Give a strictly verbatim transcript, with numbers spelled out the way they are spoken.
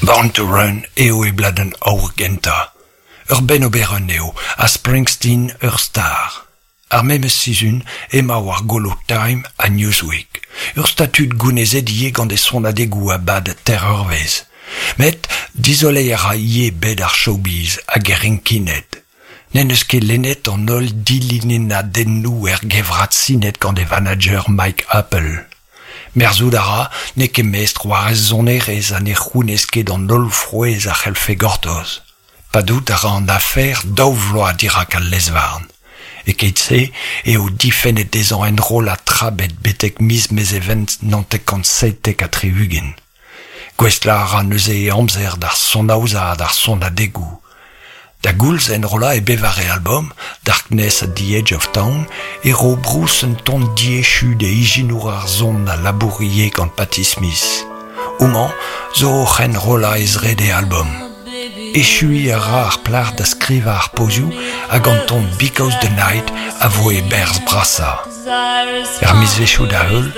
Born to Run eo e bladenn aour gentañ. Ur bennoberenn eo, ha Springsteen ur star. Ar memes sizhun emañ war golo Time ha Newsweek. Ur statud gounezet ivez gant e sonadegoù a bad teir eurvezh. Met dizoleiñ a ra ivez bed ar showbiz hag e rinkined. N'en deus ket lennet an holl dilinennadennoù er gevrat sinet gant e vanager Mike Appel. Merzout a ra n'eo ket mestr war e sonerezh ha ne c'hounez ket an holl frouezh a c'hellfe gortoz. Padout a ra an afer daou vloaz dirak al lez-varn. E-keit-se eo difennet dezhañ enrollañ tra ebet betek miz Mezheven naontek kant seitek ha tri-ugent. Gouestlañ a ra neuze e amzer d'ar sonaozañ ha d'ar sonadegoù. Da goulz enrollañ e bevare album, Darkness at the Edge of Town, e ro Bruce un ton diechu d'e ijinour ar son a labour ivez gant Patti Smith. Homañ zo oc'h enrollañ e zrede album. Echuiñ a ra ar plac'h da skrivañ ar pozioù hag an ton Because the Night a vo e berzh brasañ. Er mizvezhioù da heul